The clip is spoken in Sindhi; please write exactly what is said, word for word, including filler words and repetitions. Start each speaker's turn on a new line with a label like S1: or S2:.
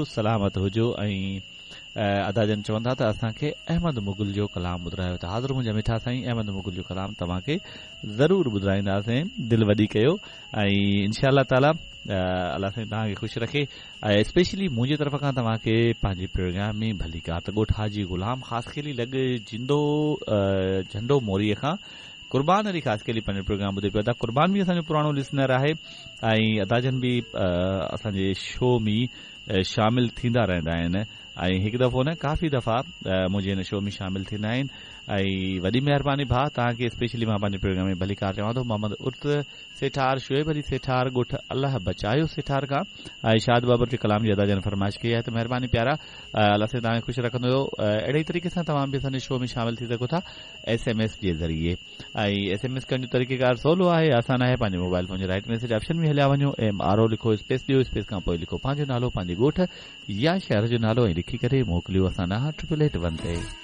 S1: سلامت هجو. ۽ ادا جن چون ٿا ته اسان کي احمد مغل جو ڪلام ٻڌرايو ته حاضر منهنجا مٺا سائين، احمد مغل جو ڪلام توهان کي ضرور ٻڌرائينداسين، دل وڏي ڪيو ۽ انشاء الله تعاليٰ الله سائين توهان کي خوش رکي. ۽ اسپيشلي منهنجي طرف کان توهان کي پنهنجي پروگرام ۾ ڀليڪار. ته ڳوٺ حاجي غلام خاصخيلي لڳ جندو جهنڊو موريءَ کان قربان علي خاصخيلي پنهنجو پروگرام ٻڌي پيو. ادا قربان به اسان جو پراڻو لسنر آهي ۽ ادا جن به اسان جي شو ۾ شامل ٿيندا رهندا آهن ۽ هڪ دفعو نه ڪافي دفعا منهنجي هن شو ۾ شامل ٿيندا آهن. ۽ وڏي مهرباني ڀاءُ، توهان کي اسپيشلي مان پنهنجي پروگرام ۾ ڀليڪار چوان ٿو. محمد عرس سيٺار، شعيب علي سيٺار، ڳوٺ الله بچايو سيٺار کان ۽ شاد بابر جي ڪلام جي ادا جن فرمائش ڪئي آهي ته مهرباني پيارا، الله سائين توهان کي خوش رکندو. اهڙي ئي طريقي سان توهان به اسان جي شو ۾ شامل ٿي سگهو ٿا ايس ايم ايس جي ذريعي. ۽ ايس ايم ايس ڪرڻ جو طريقيڪار سولو آهي، آسان آهي. پنهنجي موبائل فون جي رائٽ ميسيج آپشن ۾ هليا وڃو، ايم آر او لکو، اسپيس ڏيو، اسپيس کان پوءِ لکو پنهنجو نالو، پنهنجي ڳوٺ يا شهر جو نالو ۽ لکي ڪري موڪليو اسان ڏانهن ٽرپل ايٽ ون تي.